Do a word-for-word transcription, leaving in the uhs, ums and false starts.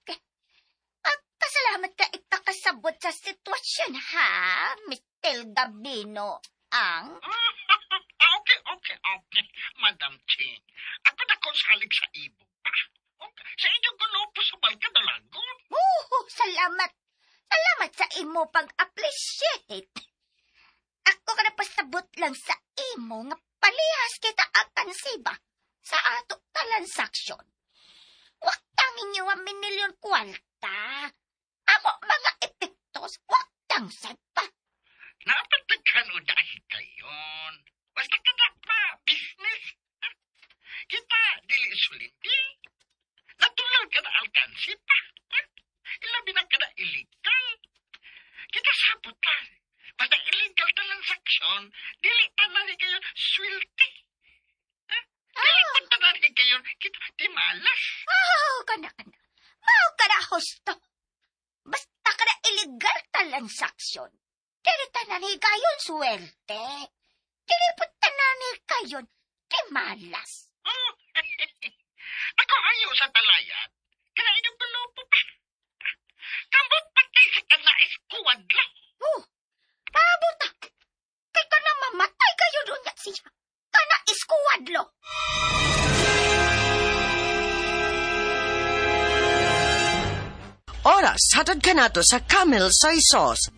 Okay. Pagpasalamat ka ipakasabot sa sitwasyon, ha, Mister Gabino ang... okay, okay, okay. Madam Ching, ako na ko salig sa ibo pa. Okay. Sa inyong gulopo sa Balkadalagon. Oh, salamat. Salamat sa imo pag-appreciate. Ako ka na pasabot lang sa imo nga palihas kita alkansiba sa ato transaksyon. Waktang inyo ang minilyon kwalta. Amo mga epektos, waktang sad pa. Napatagkan o dahil kayon. Basta ka na pa, business. Kita, dili sulindi. Natural ka na alkansi pa. Ilabi na ka na illegal. Kita sabot ka. Basta illegal transaksyon, dili tanan ni kayo swerte. Dili ah. tanan ni kayo kita timalas. Oh, kana kana. Mao ka na husto. Basta ka na illegal transaksyon. Dili tanan ni kayon swerte. Dili po tanan ni kayon timalas. Oh, ako ayaw sa talayan. Kana inyong gulupo pa. Kamot patay sa kanais kuwadlo. Oh, pabuta. Kay ka na mamatay kayo doon nga siya. Kana iskuwadlo. Oras, hatad ka nato sa Camel Soy Sauce.